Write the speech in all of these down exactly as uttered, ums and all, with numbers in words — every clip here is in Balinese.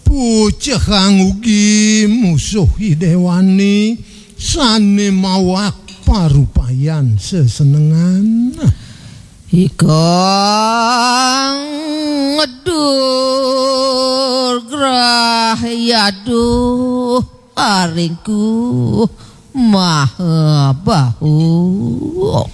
Pucehang ugi musuh i déwané sané mawak parupayan sesenengan. Ikang ngedur grah yaduh aringku maha bahu.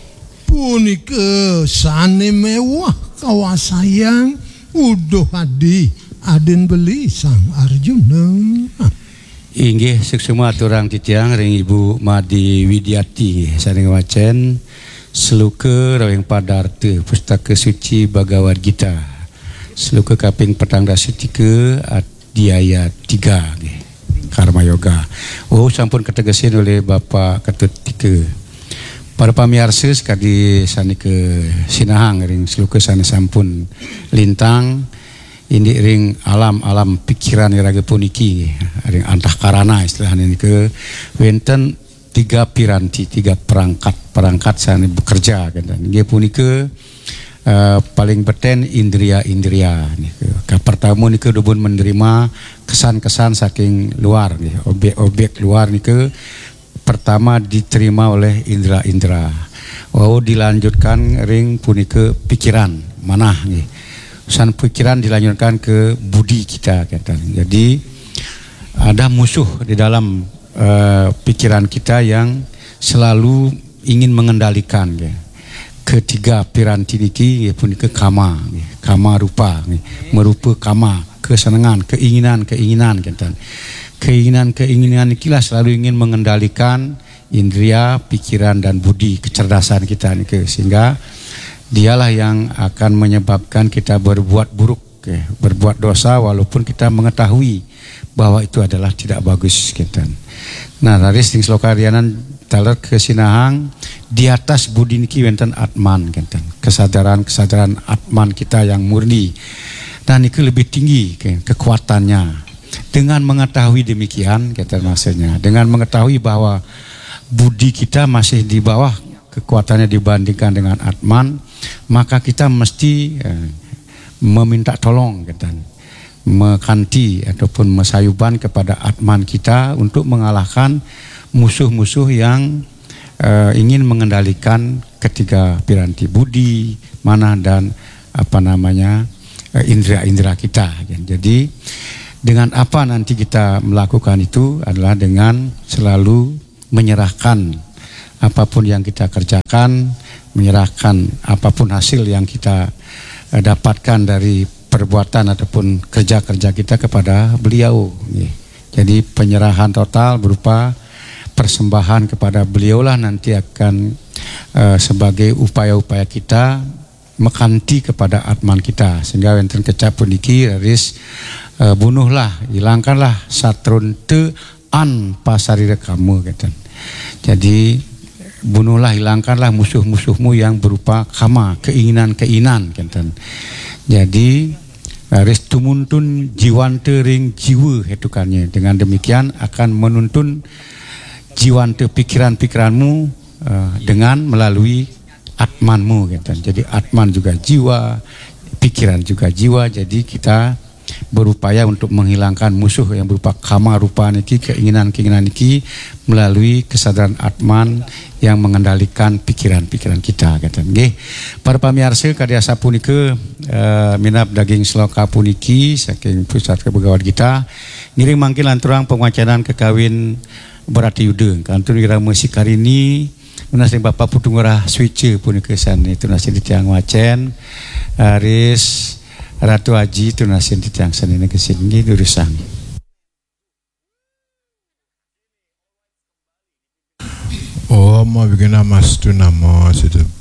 Punika sané méweh kawasayang Uduh Adi, adin beli Sang Arjuna. Inggih, suksma aturang titiang ring Ibu Made Widiati sané ngwacén sloka rawing padarta Pustaka Suci Bhagavad Gita. Sloka kaping petang dasa tiga, adhyaya tiga nggih. Karma Yoga. Oh, sampun kategesin olih Bapak Ketut Tika. Para pamiarsa sakadi sané kasinahang ring sloka sané sampun lintang, indik ring alam-alam pikiran iraga puniki, ring antahkarana istilahné nika, wénten tiga piranti, tiga perangkat, perangkat sané bekerja, kénten. Inggih punika, eh, paling betén indria-indria nika. Kapertama nika dumun menerima kesan-kesan saking luar nggih, objek-objek luar nika pertama diterima oleh indra-indra. Wau dilanjutkan ring punika pikiran, manah nggih. Usan pikiran dilanjutkan ke budi kita, kata. Jadi ada musuh di dalam, eh, pikiran kita yang selalu ingin mengendalikan, ya. Ketiga piranti niki, ya, punika kama, ya. Kama rupa, ya. Merupa kama, kesenangan, keinginan, keinginan, kata. Keinginan-keinginan nikilah selalu ingin mengendalikan indria, pikiran, dan budi, kecerdasan kita niki, sehingga dialah yang akan menyebabkan kita berbuat buruk, ya, berbuat dosa walaupun kita mengetahui bahwa itu adalah tidak bagus, gitu. Nah, raris ring sloka lianan taler kasinahang, di atas budi niki wénten atman, gitu. Kesadaran-kesadaran atman kita yang murni. Nah, niki lebih tinggi, ke-, kekuatannya. Dengan mengetahui demikian, kata maksudnya, dengan mengetahui bahwa budi kita masih di bawah kekuatannya dibandingkan dengan atman, maka kita mesti, eh, meminta tolong, kata, makanti ataupun masayuban kepada atman kita untuk mengalahkan musuh-musuh yang, eh, ingin mengendalikan ketiga piranti budi, manah, dan apa namanya, eh, indera-indera kita. Jadi, dengan apa nanti kita melakukan itu adalah dengan selalu menyerahkan apapun yang kita kerjakan, menyerahkan apapun hasil yang kita, eh, dapatkan dari perbuatan ataupun kerja-kerja kita kepada beliau. Jadi, penyerahan total berupa persembahan kepada beliaulah nanti akan, eh, sebagai upaya-upaya kita makanti kepada atman kita. Sehingga wénten kecap puniki, raris, eh, bunuhlah, hilangkanlah satrunta an pasarira kama, kata. Jadi, bunuhlah, hilangkanlah musuh-musuhmu yang berupa kama, keinginan-keinginan, kata. Jadi, raris tumuntun jiwanta ring jiwa hetukannya. Dengan demikian akan menuntun jiwanta pikiran-pikiranmu, eh, dengan melalui atmanmu, gitu. Jadi atman juga jiwa, pikiran juga jiwa. Jadi kita berupaya untuk menghilangkan musuh yang berupa kama rupa niki, keinginan-keinginan niki, melalui kesadaran atman yang mengendalikan pikiran-pikiran kita, gitu. Nggih. Para pamiarsa, kadi asapunika, eh, minab daging sloka puniki saking Pusaka Bhagavad Gita. Ngiring mangkin lanturang pangwacénan kakawin Bharata Yuda. Kantun irama Sikarini, nunas ring Bapak Putu Ngurah Swéca punika sané tunasin titiang wacén. Raris Ratu Aji tunasin titiang sané negesin, nggih, durusang. Om Awighnamastu Namo Sidha.